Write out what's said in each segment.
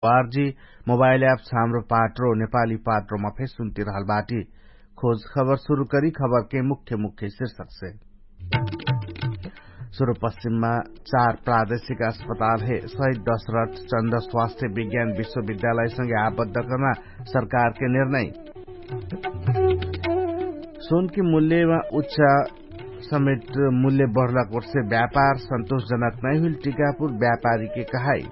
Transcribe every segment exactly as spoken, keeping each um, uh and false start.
RG mobile apps हाम्रो पाट्रो नेपाली पाट्रोमा फे सुन्तिरहल बाटी। खोज खबर सुरु करी खबरके मुख्य मुख्य शीर्षकसे। सुरुपश्चिममा चार प्रादेशिक अस्पताल हे सहित दशरथ चन्द स्वास्थ्य विज्ञान विश्वविद्यालयसँगै आबद्ध कर्ना सरकारके निर्णय। सुनकी मूल्यमा उच्च समेट मूल्य बढ्ला कोर्से व्यापार सन्तोषजनक नै हुइल टिकापुर व्यापारीके कहाई।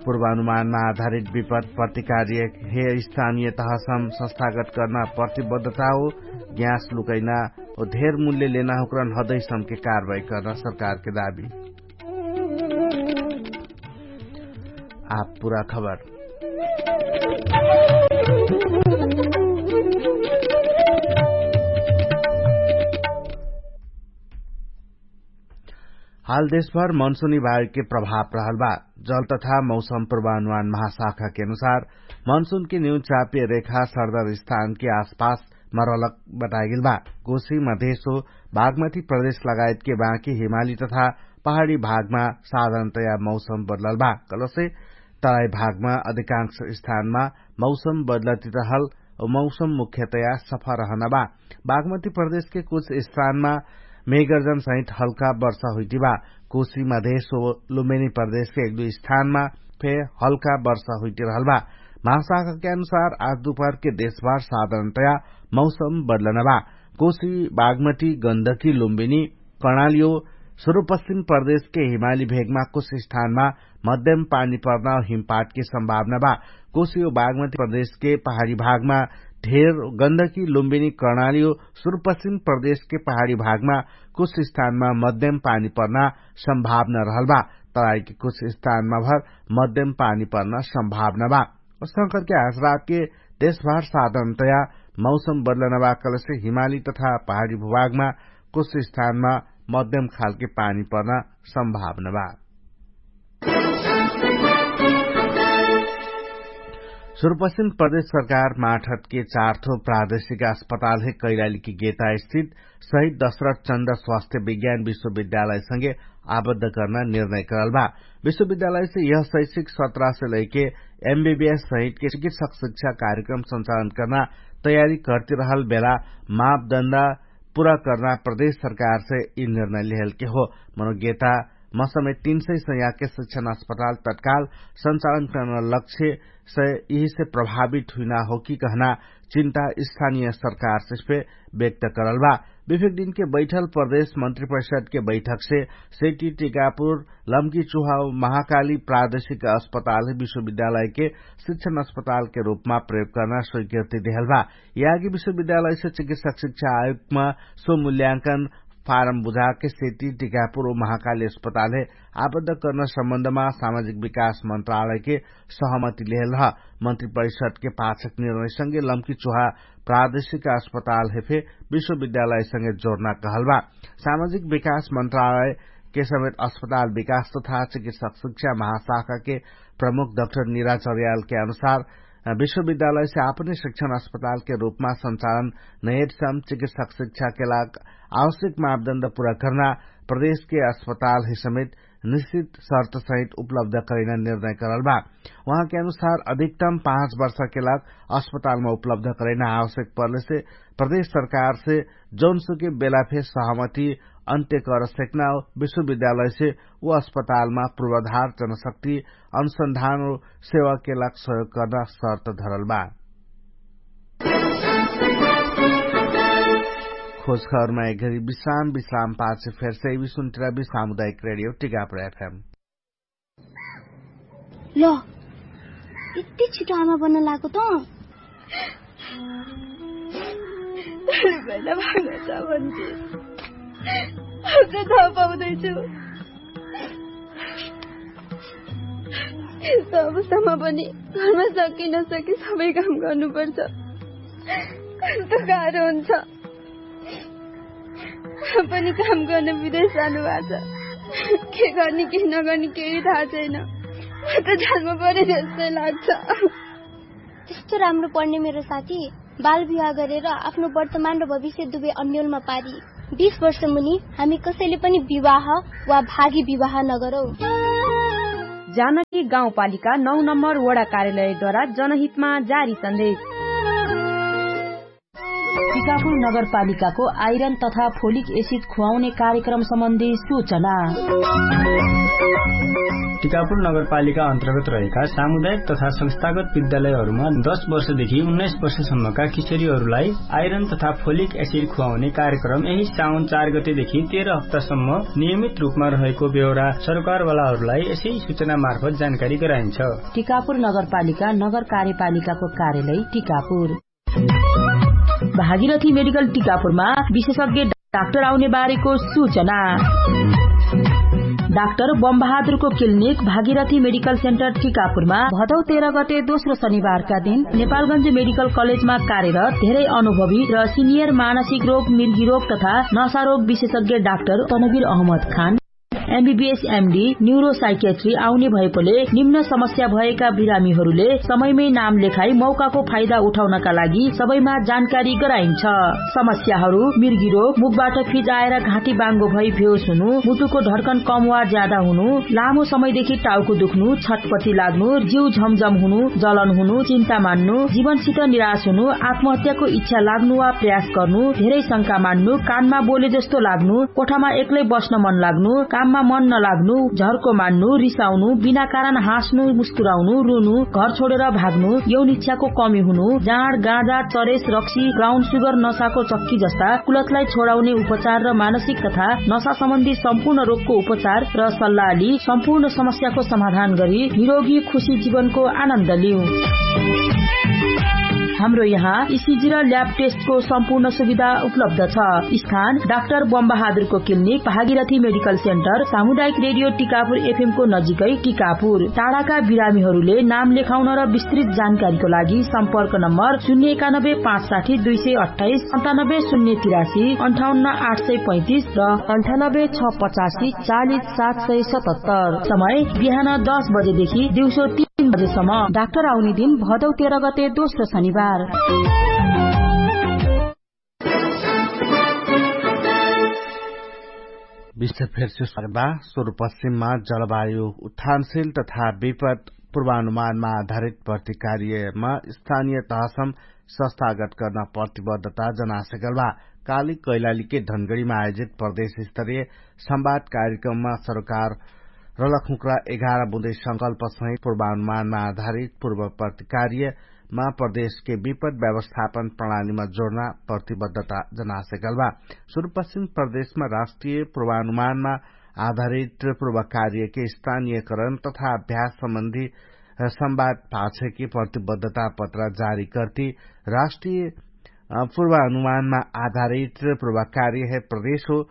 पूर्वानुमानमा आधारित विपद प्रतिकार्य हे स्थानीय तहसम संस्थागत कर्ना प्रतिबद्धता हो। ग्यास लुकैना हो धेर मूल्य लेना हुक्रन हदैसमके कार्वाही कर्ना सरकारके दाबी। आप पुरा खबर। हाल देशभर मनसुनी वायुके प्रभाव रहल बा। जल तथा मौसम पूर्वानुमान महाशाखाके अनुसार मनसुनके न्यू चापीय रेखा सरदर स्थानके आसपास मरलक बताइगेल बा। कोशी मधेशो बागमती प्रदेश लगायतके बाँकी हिमाली तथा पहाडी भागमा साधारणतया मौसम बदलल बा। कलसे तराई भागमा अधिकांश स्थानमा मौसम बदलति रहल। मौसम मुख्यतया सफा रहना बा। बागमती प्रदेशके कुछ स्थानमा मेगर्जन सहित हल्का वर्षा हुइटी बा। कोशी मधेश हो लुम्बेनी प्रदेशके एक दुई स्थानमा फे हल्का वर्षा हुइटी रहल बा। महाशाखाके अनुसार आज दुपहरके देशभर साधारणतया मौसम बदलना बा। कोशी बागमती गन्धकी लुम्बिनी कर्णाली हो सुरुपश्चिम प्रदेशके हिमाली भेगमा कुछ स्थानमा मध्यम पानी पर्ना हो हिमपातके सम्भावना बा। कोशी हो बागमती प्रदेशके पहाडी भागमा ढेर गन्धकी लुम्बिनी कर्णाली हो सुरुपश्चिम प्रदेशके पहाडी भागमा कुछ स्थानमा मध्यम पानी पर्ना सम्भावना रहल बा। तराईके कुछ स्थानमा भर मध्यम पानी पर्ना सम्भावना बा। संकरके हासरातके देशभर साधारणतया मौसम बदलना बा कलसे हिमाली तथा पहाडी भूभागमा कुछ स्थानमा मध्यम खालके पानी पर्ना सम्भावना बा। सुरुपश्चिम प्रदेश सरकार माठतके चारथो प्रादेशिक अस्पताल हे कैलालीके गेता स्थित सहित दशरथ चन्द स्वास्थ्य विज्ञान विश्वविद्यालयसँगे आबद्ध कर्ना निर्णय करल बा। विश्वविद्यालयसे यह शैक्षिक सत्रासे लैके एमबीबीएस सहितके चिकित्सक शिक्षा कार्यक्रम सञ्चालन कर्ना तयारी कर्तिरहल बेला मापदण्ड पुरा कर्ना प्रदेश सरकारसे यि निर्णय लेहलके हो। मनोगेता मसमे तीन सय सयाके शिक्षण अस्पताल तत्काल सञ्चालन कर्ना लक्ष्यसे यिहिसे प्रभावित हुइना हो कि कहना चिन्ता स्थानीय सरकारसे फे व्यक्त करल बा। विफेक दिनके बैठल प्रदेश मन्त्री परिषदके बैठकसे सेटी टिकापुर लम्की चुहाव महाकाली प्रादेशिक अस्पताल विश्वविद्यालयके शिक्षण अस्पतालके रूपमा प्रयोग कर्ना स्वीकृति देहल बा। यागी विश्वविद्यालयसे चिकित्सक शिक्षा आयोगमा सो मूल्यांकन फारम बुझाके सेटी टिकापुर महाकाली अस्पतालहे आबद्ध कर्ना सम्बन्धमा सामाजिक विकास मन्त्रालयके सहमति लेहल ह। मन्त्री परिषदके पाछक निर्णयसँगे लम्की चुहा प्रादेशिक अस्पताल हेफे विश्वविद्यालयसँगे जोर्ना कहल बा। सामाजिक विकास मन्त्रालयके समेत अस्पताल विकास तथा चिकित्सक शिक्षा महाशाखाके प्रमुख डक्टर निराचर्यालके अनुसार विश्वविद्यालयसे आपने शिक्षण अस्पतालके रूपमा सञ्चालन नयेटसम चिकित्सक शिक्षाके लाग आवश्यक मापदण्ड पुरा कर्ना प्रदेशके अस्पतालहे समेत निश्चित शर्त सहित उपलब्ध करैना निर्णय करल बा। उहाँके अनुसार अधिकतम पाँच वर्षके लाग अस्पतालमा उपलब्ध करैना आवश्यक पर्लेसे प्रदेश सरकारसे जौनसुके बेलाफे सहमति अन्त्य कर सेक्ना विश्वविद्यालयसे उ अस्पतालमा पूर्वाधार जनशक्ति अनुसन्धान सेवाके लाग सहयोग कर्ना शर्त धरल बा। खोजखबरमा एकघरी विश्राम विश्राम पाछ फेरसे विसुन्त्रा विश्राम उदायक रेडियो टिकापुर एफएम। ल, यति छिटो आमा बन्न लागो त? भैला भाग्न छ भन्थे। अझ थाहा पाउँदैछु। यस्तो अवस्थामा पनि घरमा सके नसके सबै काम गर्नुपर्छ। कस्तो गाह्रो हुन्छ। पनि काम गर्न विदेश जानुभएको छ। के गर्ने के नगर्ने केही थाहा छैन। म त जान्नु पर्यो जस्तै लाग्छ। त्यस्तो राम्रो पढ्ने मेरो साथी बाल विवाह गरेर आफ्नो वर्तमान र भविष्य दुवै अन्यलमा पारी। बिस वर्ष मुनि हामी कसैले पनि विवाह वा भागी विवाह नगरौँ। जानकी गाउँपालिका नौ नम्बर वडा कार्यालयद्वारा जनहितमा जारी सन्देश। टिकापुर नगरपालिकाको आइरन तथा फोलिक एसिड खुवाउने कार्यक्रम सम्बन्धी सूचना। टिकापुर नगरपालिका अन्तर्गत रहेका सामुदायिक तथा संस्थागत विद्यालयहरूमा दश वर्षदेखि उन्नाइस वर्षसम्मका किशोरीहरूलाई आइरन तथा फोलिक एसिड खुवाउने कार्यक्रम यही साउन चार गतेदेखि तेह्र हप्तासम्म नियमित रूपमा रहेको बेहोरा सरकारवालाहरूलाई यसै सूचनामार्फत जानकारी गराइन्छ। टिकापुर नगरपालिका नगर कार्यपालिकाको कार्यालय टिकापुर। भागीरथी मेडिकल टिकापुरमा विशेषज्ञ डाक्टर आउने बारेको सूचना। डाक्टर बमबहादुरको क्लिनिक भागीरथी मेडिकल सेन्टर टिकापुरमा भदौ तेह्र गते दोस्रो शनिबारका दिन नेपालगञ्ज मेडिकल कलेजमा कार्यरत धेरै अनुभवी र सिनियर मानसिक रोग, मिर्गी रोग तथा नशा रोग विशेषज्ञ डाक्टर तनवीर अहमद खान एमबीबीएस एमडी न्युरोसाइकेट्री आउने भएकोले निम्न समस्या भएका बिरामीहरूले समयमै नाम लेखाई मौकाको फाइदा उठाउनका लागि सबैमा जानकारी गराइन्छ। समस्याहरू मिर्गी रोग, मुखबाट फिजाएर घाँटी बाङ्गो भई भेउस हुनु, मुटुको ढर्कन कम वा ज्यादा हुनु, लामो समयदेखि टाउको दुख्नु, छटपटी लाग्नु, जिउ झमझम हुनु, जलन हुनु, चिन्ता मान्नु, जीवनसित निराश हुनु, आत्महत्याको इच्छा लाग्नु वा प्रयास गर्नु, धेरै शंका मान्नु, कानमा बोले जस्तो लाग्नु, कोठामा एक्लै बस्न मन लाग्नु, काममा मन नलाग्नु, झर्को मान्नु, रिसाउनु, बिना कारण हाँस्नु, मुस्कुराउनु, रुनु, घर छोडेर भाग्नु, यौन इच्छाको कमी हुनु, जाँड, गाँजा, चरेस, रक्सी, ब्राउन सुगर, नसाको चक्की जस्ता कुलतलाई छोडाउने उपचार र मानसिक तथा नसा सम्बन्धी सम्पूर्ण रोगको उपचार र सल्लाह लि सम्पूर्ण समस्याको समाधान गरी निरोगी खुशी जीवनको आनन्द लिउ। हाम्रो यहाँ इसिजी र ल्याब टेस्टको सम्पूर्ण सुविधा उपलब्ध छ। स्थान डाक्टर बमबहादुरको क्लिनिक, भागीरथी मेडिकल सेन्टर, सामुदायिक रेडियो टिकापुर एफएमको नजिकै टिकापुर। टाढाका बिरामीहरूले नाम लेखाउन र विस्तृत जानकारीको लागि सम्पर्क नम्बर शून्य एकानब्बे पाँच साठी दुई सय अट्ठाइस, सन्तानब्बे शून्य तिरासी, अन्ठाउन्न आठ सय पैँतिस र अन्ठानब्बे छ पचासी चालिस सात सय सतहत्तर। समय बिहान दस बजेदेखि दिउँसो तीन बजेसम्म। डाक्टर आउने दिन भदौ तेह्र गते दोस्रो शनिबार। विश्व फेर्सु सर्दा सुरुपश्चिममा जलवायु उत्थानशील तथा विपद पूर्वानुमानमा आधारित प्रतिकार्यमा स्थानीय तहसम सस्थागत गर्न प्रतिबद्धता जनासेकल बा। काली कैलालीके धनगढीमा आयोजित प्रदेश स्तरीय संवाद कार्यक्रममा सरकार रलखुक्रा एघार बुँदै संकल्पसहित पूर्वानुमानमा आधारित पूर्व प्रतिकार्यमा प्रदेशके विपद व्यवस्थापन प्रणालीमा जोड्ना प्रतिबद्धता जनासेकल बा। सुरुपश्चिम प्रदेशमा राष्ट्रिय पूर्वानुमानमा आधारित पूर्व कार्यके स्थानीयकरण तथा अभ्यास सम्बन्धी संवाद पाछेके प्रतिबद्धता पत्र जारी कर्ति राष्ट्रिय पूर्वानुमानमा आधारित पूर्व कार्य हे प्रदेश हो।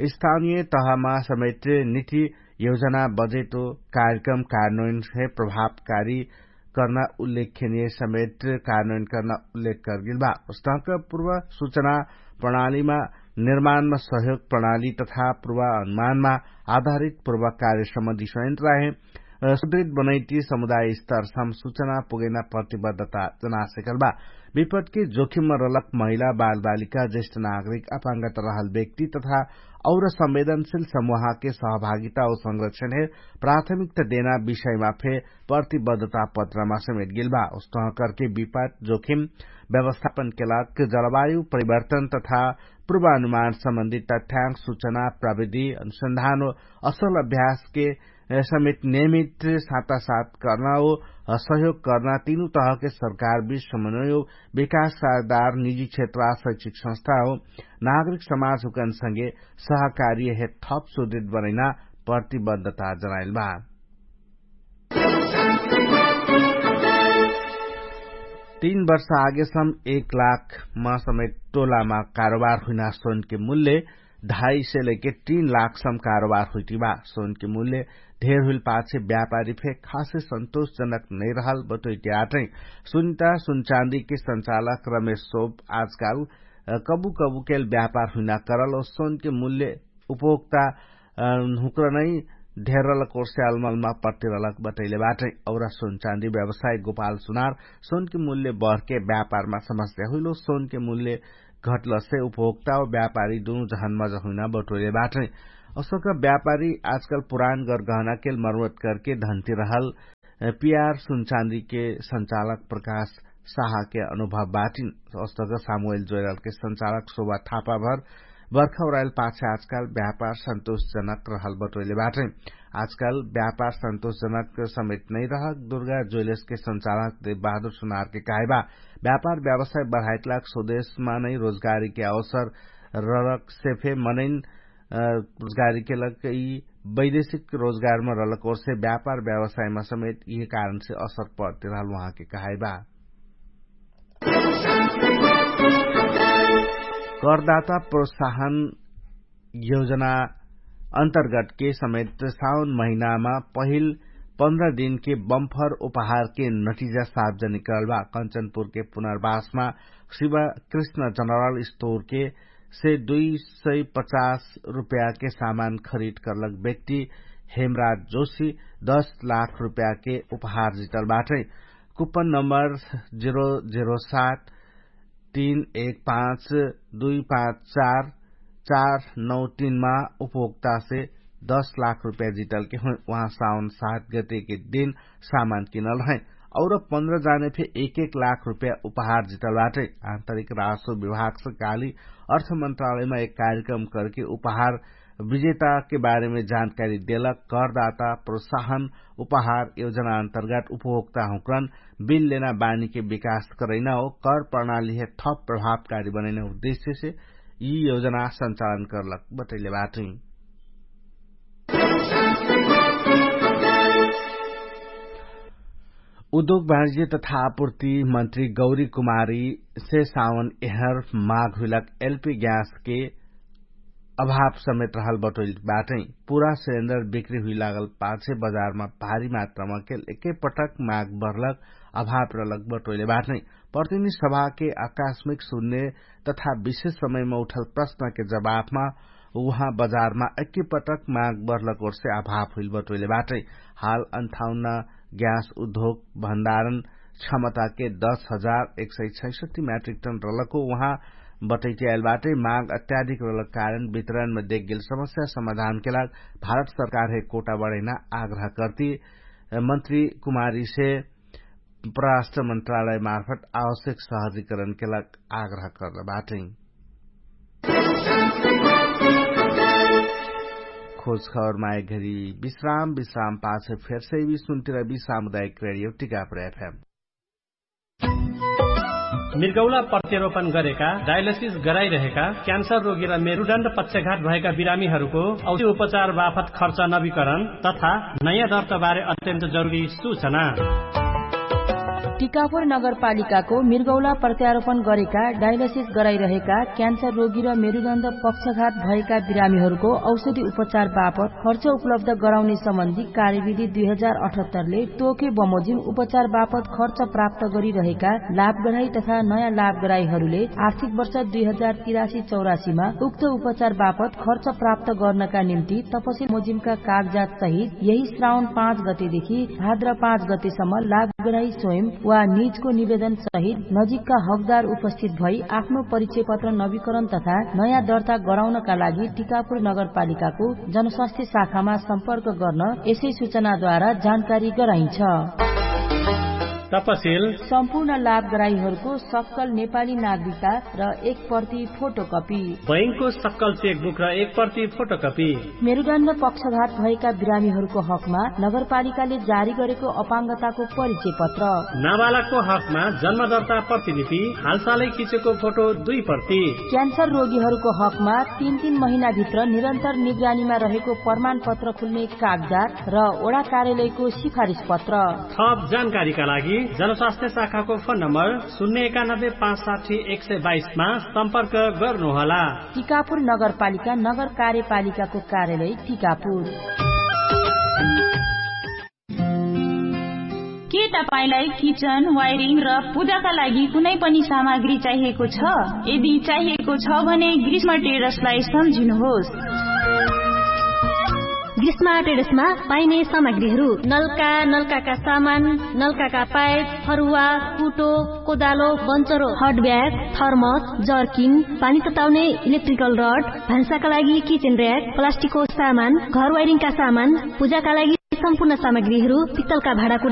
स्थानीय तहमा समेट निति योजना बजेट हो कार्यक्रम कार्यान्वयन हे प्रभावकारी कर्ना उल्लेखनीय समेट कार्यान्वयन कर्ना उल्लेख कर्गिल बा। उस्तक पूर्व सुचना प्रणालीमा निर्माणमा सहयोग प्रणाली तथा पूर्वानुमानमा आधारित पूर्व कार्य सम्बन्धी संयन्त्र हे सुदृढ बनैटी समुदाय स्तर सम सुचना पुगैना प्रतिबद्धता जनासेकल बा। विपटके जोखिममा रलक महिला बालबालिका ज्येष्ठ नागरिक अपाङ्गत रहल व्यक्ति तथा और संवेदनशील समूहके सहभागिता और संरक्षण हे प्राथमिकता देना विषयमा फे प्रतिबद्धता पत्रमा समेट गेल बा। उस्तह करके विपट जोखिम व्यवस्थापन केलाक जलवायु परिवर्तन तथा पूर्वानुमान सम्बन्धित तथ्याङ्क सुचना प्रविधि अनुसन्धान हो असल अभ्यासके समेत नियमित सातासात कर्ना हो सहयोग कर्ना तीनु तहके सरकार बिच समन्वय हो विकास साधार निजी क्षेत्र आ शैक्षिक संस्था हो नागरिक समाज हुकन संगे सहकार्य हे थप सुदृढ बनैना प्रतिबद्धता जनाइल बा। तीन वर्ष आगेसम एक लाख मा समेत टोलामा कारोबार हुइना सोनके मूल्य ढाई से लैके तीन लाख सम कारोबार हुइटी बा। सोनके मूल्य ढेर हुइल पाछे व्यापारी फे खासे सन्तोषजनक नैरहल बटोइटी आटै। सुनिता सुनचाँदीके संचालक रमेश सोभ आजकाल कबु कबुकेल व्यापार हुइना करल और सोनके मूल्य उपभोक्ता हुक्र नै ढेरल कोर्स्यालमलमा पट्टिरलक बटैले बाटै। और सोनचाँदी व्यवसाय गोपाल सुनार सोनके मूल्य बहरके व्यापारमा समस्या हुइलो सोनके मूल्य घटलसे उपभोक्ता और व्यापारी दुनु जहनमज हुइना बटोइले बाटै। असक व्यापारी आजकल पुरान गरगहना केल मर्मत करके धन्ती रहल पियार सुनचाँदी के संचालक प्रकाश साहा के अनुभव बाटिन। असक सामुएल जोइराल के संचालक शोभा थापा भर बर्खा उराइल पाछे आजकाल व्यापार सन्तोषजनक रहल बटोइले बाटै। आजकाल व्यापार सन्तोषजनक समेत नै रहक दुर्गा ज्वेलर्स के संचालक देव बहादुर सुनार के कहाइबा। व्यापार व्यवसाय बढाइक लाग स्वदेशमा नै रोजगारी के अवसर ररक सेफे मनैन रोजगारी के लग यि वैदेशिक रोजगारमा रलक ओर्से व्यापार व्यवसायमा समेत यि कारणसे असर पडते रहल उहाँके कहाइबा। करदाता प्रोत्साहन योजना अन्तर्गत के समेत साउन महिनामा पहिल पन्ध्र दिनके बम्फर उपहारके नटिजा सार्वजनिक करल बा। कन्चनपुरके पुनर्वासमा शिव कृष्ण जनरल स्टोरके से दुई सय पचास रुपयाके सामान खरिद करलक व्यक्ति हेमराज जोशी दस लाख रुपयाके उपहार जितल बाटै। कुपन नम्बर जिरो जिरो सात तीन एक पाँच दुई पाँच चार चार नौ तीनमा उपभोक्तासे दस लाख रुपया जितलके हुइ उहाँ साउन सात गतेके दिन सामान किनल है। और पन्ध्र जाने फे एक एक लाख रुपया उपहार जितल बाटै। आन्तरिक राजस्व विभागसे काली अर्थ मन्त्रालयमा एक कार्यक्रम करके उपहार विजेताके बारेमे जानकारी देलक। करदाता प्रोत्साहन उपहार योजना अन्तर्गत उपभोक्ता हुँक्रन बिल लेना बानीके विकास करैना हो कर प्रणालीहे थप प्रभावकारी बनैना उद्देश्यसे यि योजना संचालन करलक बटैले बाटै। उद्योग वाणिज्य तथा आपूर्ति मन्त्री गौरी कुमारी से सावन एहर माघ हुइलक एलपी ग्यासके अभाव समेत रहल बटोइल बाटै। पुरा सिलेन्डर बिक्री हुइ लागल पाछे बजारमा भारी मात्रामा केल एकै पटक माग बढलक अभाव रहलक बटोइले बाटै। प्रतिनिधि सभाके आकास्मिक सुन्ने तथा विशेष समयमा उठल प्रश्नके जवाफमा उहाँ बजारमा एकै पटक माग बढलक ओर्से अभाव हुइल बटोइले बाटै। हाल अन्ठाउन्न ग्यास उद्योग भण्डारण क्षमताके दस हजार एक सय छैसठी म्याट्रिक टन रहलको उहाँ बटैटियाइल बाटै। माग अत्याधिक रहलक कारण वितरणमा देखगेल समस्या समाधानके लाग भारत सरकारहे कोटा बढैना आग्रह कर्ति मन्त्री कुमारीसे परराष्ट्र मन्त्रालय मार्फत आवश्यक सहजीकरणके लाग आग्रह कर्ल बाटै। खोज खबर माय घरी विश्राम विश्राम पाछे फेरसे विश्वन्तिर विश्रामुदायक रेडियो टिकापुर एफएम। मिर्गौला प्रत्यारोपण गरेका डायलिसिस गराइरहेका क्यान्सर रोगी र मेरुडण्ड पक्षघात भएका बिरामीहरूको औषधि उपचार बाफत खर्च नवीकरण तथा नयाँ दर्ताबारे अत्यन्त जरुरी सूचना। टिकापुर नगरपालिकाको मिर्गौला प्रत्यारोपण गरेका डायलिसिस गराइरहेका क्यान्सर रोगी र मेरुदण्ड पक्षघात भएका बिरामीहरूको औषधि उपचार बापत खर्च उपलब्ध गराउने सम्बन्धी कार्यविधि दुई हजार अठहत्तरले तोके बमोजिम उपचार बापत खर्च प्राप्त गरिरहेका लाभगराई तथा नयाँ लाभगराईहरूले आर्थिक वर्ष दुई हजार तिरासी चौरासीमा उक्त उपचार बापत खर्च प्राप्त गर्नका निम्ति तपसिल मोजिमका कागजात सहित यही श्रावण पाँच गतेदेखि भाद्र पाँच गतेसम्म लाभगराई स्वयं वा निजको निवेदन सहित नजिकका हकदार उपस्थित भई आफ्नो परिचय पत्र नवीकरण तथा नयाँ दर्ता गराउनका लागि टिकापुर नगरपालिकाको जनस्वास्थ्य शाखामा सम्पर्क गर्न यसै सूचनाद्वारा जानकारी गराइन्छ। तपसिल सम्पूर्ण लाभगराईहरूको सक्कल नेपाली नागरिकता र एक प्रति फोटोकपी। बैंकको सक्कल चेकबुक र एक प्रति फोटोकपी। मेरुदण्ड पक्षघात भएका बिरामीहरूको हकमा नगरपालिकाले जारी गरेको अपाङ्गताको परिचय पत्र। नाबालकको हकमा जन्मदर्ता प्रतिलिपि, हालसालै खिचेको फोटो दुई प्रति। क्यान्सर रोगीहरूको हकमा तीन तीन महिनाभित्र निरन्तर निगरानीमा रहेको प्रमाणपत्र खुल्ने कागजात र ओडा कार्यालयको सिफारिस पत्र। थप जानकारीका लागि जनस्वास्थ्य शाखाको फोन नम्बर शून्य एकानब्बे पाँच साठी एक सय बाइसमा सम्पर्क गर्नुहोला। टिकापुर नगरपालिका नगर कार्यपालिकाको कार्यालय टिकापुर। के तपाईंलाई किचन वायरिङ र पूजाका लागि कुनै पनि सामग्री चाहिएको छ? यदि चाहिएको छ भने ग्रीष्म टेरसलाई सम्झिनुहोस्। ग्रीष्मा ट्रेडर्समा पाइने सामग्रीहरू, नल्का, नल्काका सामान, नल्काका पाइप, फरुवा, कुटो, कोदालो, बन्चरो, हटब्याग, थर्मस, जर्किन, पानी तताउने, इलेक्ट्रिकल रड, भान्साका लागि किचेन र्याक, प्लास्टिकको सामान, घर वाइरिङका सामान, पूजाका लागि सम्पूर्ण सामग्रीहरू, पित्तलका भाँडाकुडा